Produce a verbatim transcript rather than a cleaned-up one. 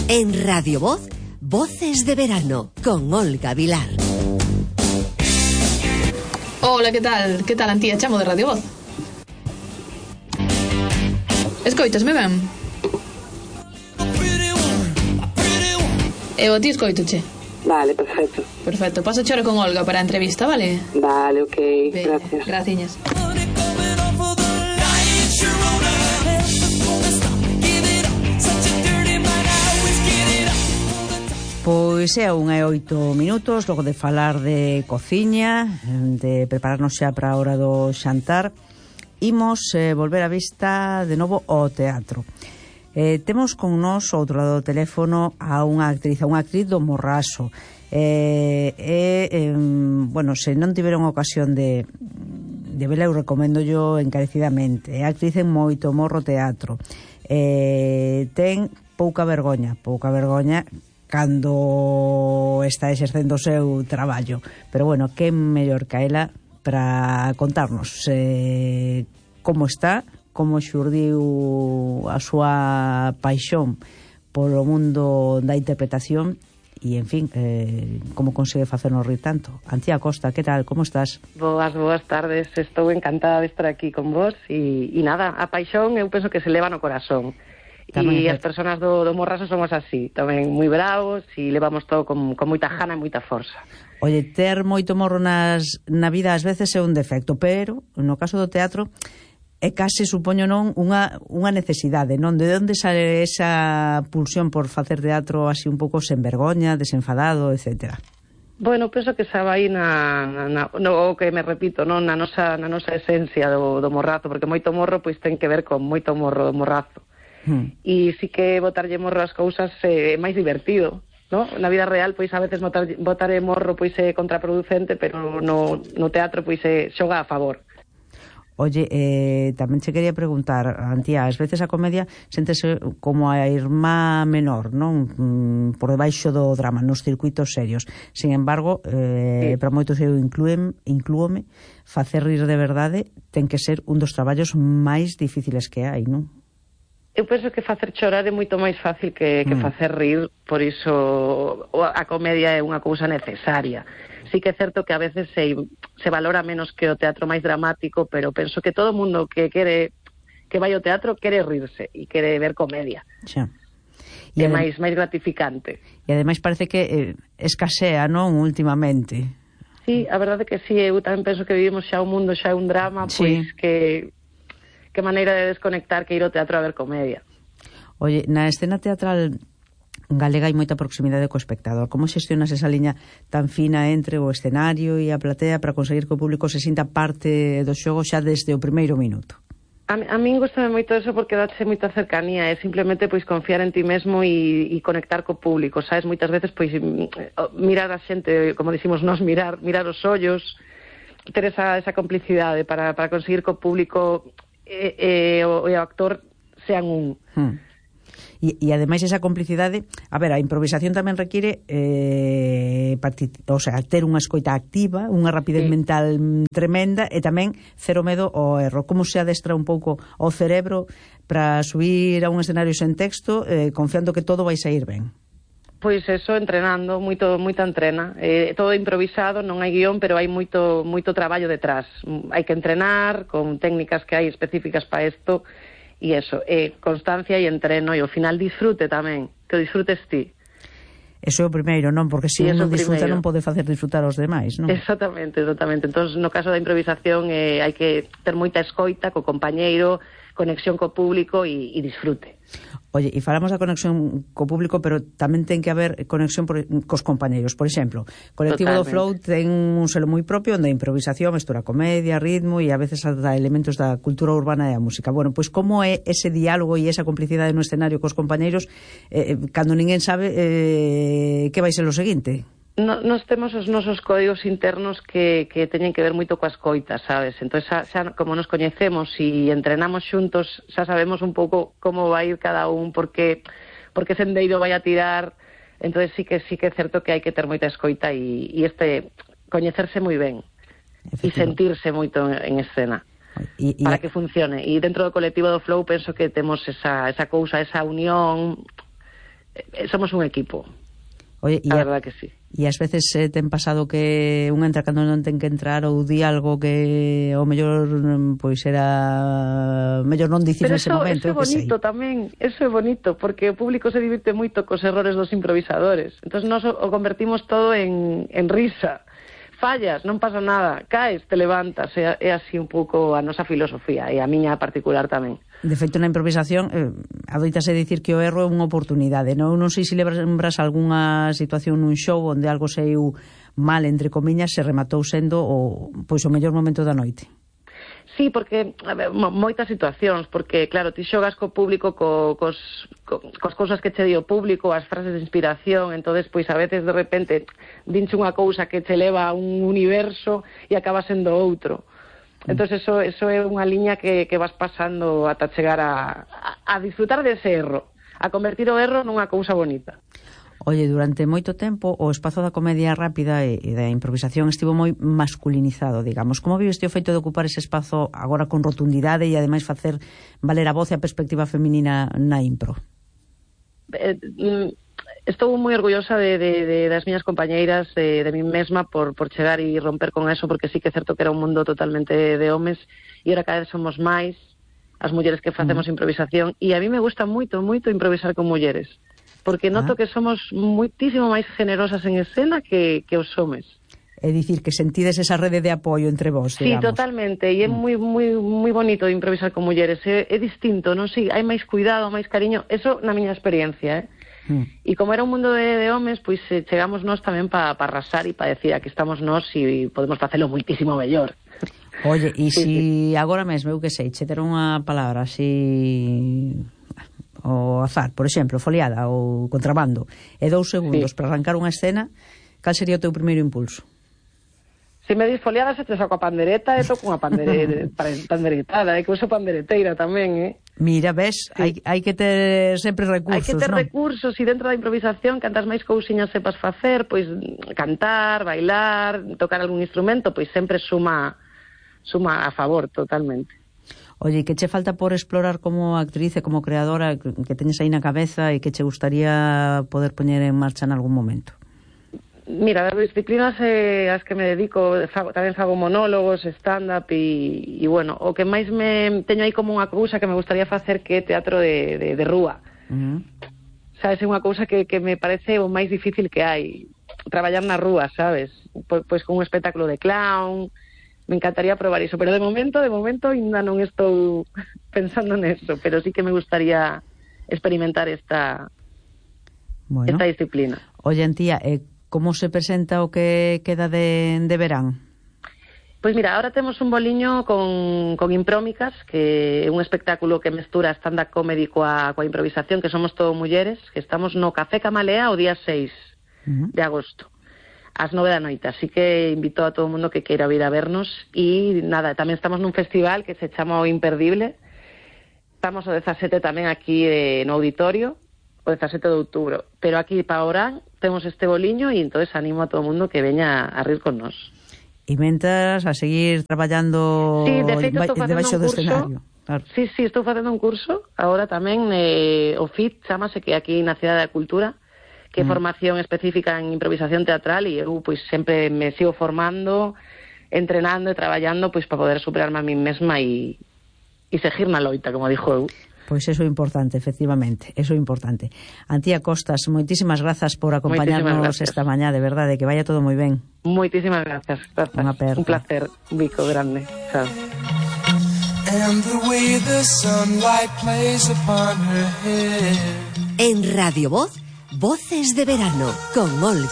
En Radio Voz, Voces de Verano, con Olga Vilar. Hola, que tal? Que tal, Antía? Chamo de Radio Voz. Escoitasme ben? E o ti escoitoche? Vale, perfecto. Perfecto, pasa chora con Olga para a entrevista, vale? Vale, ok, ben, gracias. Graciñas. Pois é unha e oito minutos, logo de falar de cociña, de prepararnos xa para a hora do xantar, imos eh, volver a vista de novo ao teatro. Eh, temos con nós, ao outro lado do teléfono, a unha actriz, a unha actriz do Morraso. Eh, eh, eh, bueno, se non tiveron ocasión de, de vela, eu recomendo yo encarecidamente. É actriz en moito morro teatro. Eh, ten pouca vergoña, pouca vergoña cando está exercendo o seu traballo. Pero bueno, que mellor que ela para contarnos eh, como está, como xurdiu a súa paixón polo mundo da interpretación e, en fin, eh, como consegue facernos rir tanto. Antía Costa, que tal? Como estás? Boas, boas tardes. Estou encantada de estar aquí con vos e, e nada, a paixón eu penso que se leva no corazón. E as persoas do, do Morraso somos así, tamén moi bravos e levamos todo con, con moita jana e moita forza. Oye, ter moito morro nas, na vida ás veces é un defecto, pero no caso do teatro é case, supoño, non unha, unha necesidade, non? De onde sale esa pulsión por facer teatro así un pouco sen vergoña, desenfadado, etcétera? Bueno, penso que xa vai na, na, na no, que me repito, non na nosa, na nosa esencia do, do morrazo, porque moito morro pois ten que ver con moito morro do morrazo. Hmm. E si que botarlle morro as cousas é eh, máis divertido, no? Na vida real, pois a veces botar, botarlle morro pois é contraproducente, pero no, no teatro pois é xoga a favor. Oye, eh, tamén che quería preguntar, Antía, ás veces a comedia séntese como a irmá menor, non? Mm, por debaixo do drama, nos circuitos serios. Sin embargo, eh, sí. Para moitos eu inclúen, inclúome, facer rir de verdade ten que ser un dos traballos máis difíciles que hai, non? Eu penso que facer chorar é moito máis fácil que, que mm. facer rir, por iso a comedia é unha cousa necesaria. Sí que é certo que a veces se, se valora menos que o teatro máis dramático, pero penso que todo o mundo que quere que vai ao teatro quere rirse e quere ver comedia. Xa. E é máis, máis gratificante. E ademais parece que eh, escasea, non, últimamente. Sí, a verdade que sí, eu tamén penso que vivimos xa un mundo, xa un drama, sí. Pois que... que maneira de desconectar que ir ao teatro a ver comedia. Oye, na escena teatral galega hai moita proximidade co espectador. Como xestionas esa liña tan fina entre o escenario e a platea para conseguir que o público se sinta parte do xogo xa desde o primeiro minuto? A, a min gostame moito eso porque dáche moita cercanía, é simplemente pois confiar en ti mesmo e, e conectar co público, sabes? Moitas veces pois mirar a xente, como dicimos nós, mirar, mirar os ollos, ter esa, esa complicidade para, para conseguir que o público e, e, o, e o actor sean un. Hmm. E, e ademais esa complicidade, a ver, a improvisación tamén require eh, partic- o sea, ter unha escoita activa, unha rapidez sí. mental tremenda e tamén cero medo ao erro. Como se adestra un pouco o cerebro para subir a un escenario sen texto eh, confiando que todo vai sair ben? Pois eso, entrenando, moito, moita entrena. Eh, todo improvisado, non hai guión, pero hai moito, moito traballo detrás. Hai que entrenar con técnicas que hai específicas para isto, e eso, eh, constancia e entreno, e ao final disfrute tamén, que o disfrutes ti. Eso é o primeiro, non? Porque se sí, un non disfruta non pode facer disfrutar aos demais, non? Exactamente, exactamente. Entón, no caso da improvisación, eh, hai que ter moita escoita co compañeiro, conexión co público e, e disfrute. Oye, e falamos da conexión co público, pero tamén ten que haber conexión por, cos compañeiros. Por exemplo, Colectivo Totalmente. do Flow ten un selo moi propio onde a improvisación mestura comedia, ritmo e a veces ata elementos da cultura urbana e a música. Bueno, pois como é ese diálogo e esa complicidade no escenario cos compañeiros eh, cando ninguén sabe eh, que vai ser o seguinte? No, nos temos os nosos códigos internos que, que teñen que ver moito coas coitas, sabes? Entón, xa, xa, como nos coñecemos e entrenamos xuntos, xa sabemos un pouco como vai ir cada un, porque, porque sendeiro vai a tirar. Entón, sí que sí que é certo que hai que ter moita escoita e, e este coñecerse moi ben e sentirse moito en, en escena. Y, y para que funcione. E dentro do Colectivo do Flow penso que temos esa, esa cousa, esa unión eh, somos un equipo. Oye, a a verdad que sí. E ás veces eh, ten pasado que un entra cando non ten que entrar ou di algo que o mellor pois era mellor non dicir Pero nese eso, momento, eso é bonito tamén, eso é bonito, porque o público se divirte moito cos errores dos improvisadores. Entón nós o convertimos todo en, en risa. Fallas, non pasa nada, caes, te levantas, é, é así un pouco a nosa filosofía e a miña particular tamén. De feito, na improvisación, eh, adoitase dicir que o erro é unha oportunidade, non? Non sei se lembras algunha situación nun show onde algo saiu mal, entre comiñas, se rematou sendo o, pois, o mellor momento da noite. Sí, porque, a ver, moitas situacións, porque, claro, ti xogas co público co, cos, co, cos cousas que che di o público, as frases de inspiración, entonces pois a veces, de repente, dinche unha cousa que che leva a un universo e acaba sendo outro. Entón, eso, eso é unha liña que, que vas pasando ata chegar a, a, a disfrutar dese erro, a convertir o erro nunha cousa bonita. Oye, durante moito tempo o espazo da comedia rápida e, e da improvisación estivo moi masculinizado, digamos. Como vives ti o feito de ocupar ese espazo agora con rotundidade e ademais facer valer a voz e a perspectiva feminina na impro? Eh, Estou moi orgullosa de, de, de das miñas compañeiras, de, de mí mesma, por, por chegar e romper con eso, porque sí que é certo que era un mundo totalmente de homes, e ahora cada vez somos máis as mulleres que facemos mm. improvisación, e a mí me gusta moito, moito improvisar con mulleres, porque noto ah. que somos moitísimo máis generosas en escena que, que os homes. É dicir, que sentides esa rede de apoio entre vos, digamos. Sí, totalmente, e é mm. moi, moi, moi bonito improvisar con mulleres, é, é distinto, non sei, hai máis cuidado, máis cariño, eso na miña experiencia, eh? Mm. E como era un mundo de, de homes, pois eh, chegamos nós tamén para pa arrasar e para decir aquí estamos nós e podemos facelo moitísimo mellor. Oye, e sí, si sí. agora mesmo, eu que sei, che ter unha palabra así o azar, por exemplo, foliada ou contrabando, e dous segundos sí. para arrancar unha escena, cal sería o teu primeiro impulso? Se me dis foliada, se te saco a pandereta e toco unha pandere... panderetada, é que uso pandereteira tamén, eh? Mira, ves, sí. hai, hai que ter sempre recursos, hai que ter non? recursos, e dentro da improvisación, cantas máis cousiñas sepas facer, pois cantar, bailar, tocar algún instrumento, pois sempre suma suma a favor, totalmente. Oye, que che falta por explorar como actriz e como creadora, que teñes aí na cabeza e que che gustaría poder poñer en marcha en algún momento? Mira, das disciplinas eh, as que me dedico, fago, tamén fago monólogos, stand-up e, e, bueno, o que máis me teño aí como unha cousa que me gustaría facer que é teatro de, de, de rúa. Uh-huh. Sabes, é unha cousa que, que me parece o máis difícil que hai, traballar na rúa, sabes? Pois, pois con un espectáculo de clown, me encantaría probar iso, pero de momento, de momento, ainda non estou pensando neso, pero sí que me gustaría experimentar esta, bueno, esta disciplina. Oye, Antía, eh, como se presenta o que queda de, de verán? Pois mira, ahora temos un boliño con, con Imprómicas, que é un espectáculo que mestura stand-up comedy coa, coa improvisación, que somos todo mulleres, que estamos no Café Camalea o día seis uh-huh. de agosto, ás nove da noite, así que invito a todo o mundo que queira vir a vernos, e nada, tamén estamos nun festival que se chama O Imperdible, estamos o dezasete tamén aquí eh, no auditorio, o dezasete de outubro, pero aquí para Orán temos este boliño e entonces animo a todo o mundo que veña a rir con nós. E mentras a seguir traballando sí, de feito, estou debaixo do curso, escenario. Claro. Sí, sí, estou facendo un curso, agora tamén, eh, o F I T, chamase, que aquí na Cidade da Cultura, que é mm. formación específica en improvisación teatral, e eu pois sempre me sigo formando, entrenando e traballando pois para poder superarme a mí mesma e, e seguir na loita, como dixo eu. Pois eso é importante, efectivamente, eso é importante. Antía Costas, moitísimas grazas por acompañarnos esta mañá, de verdade, que vaya todo moi ben. Moitísimas grazas, grazas. Un placer, un bico grande. Chao. En Radio Voz, Voces de Verano, con Olga.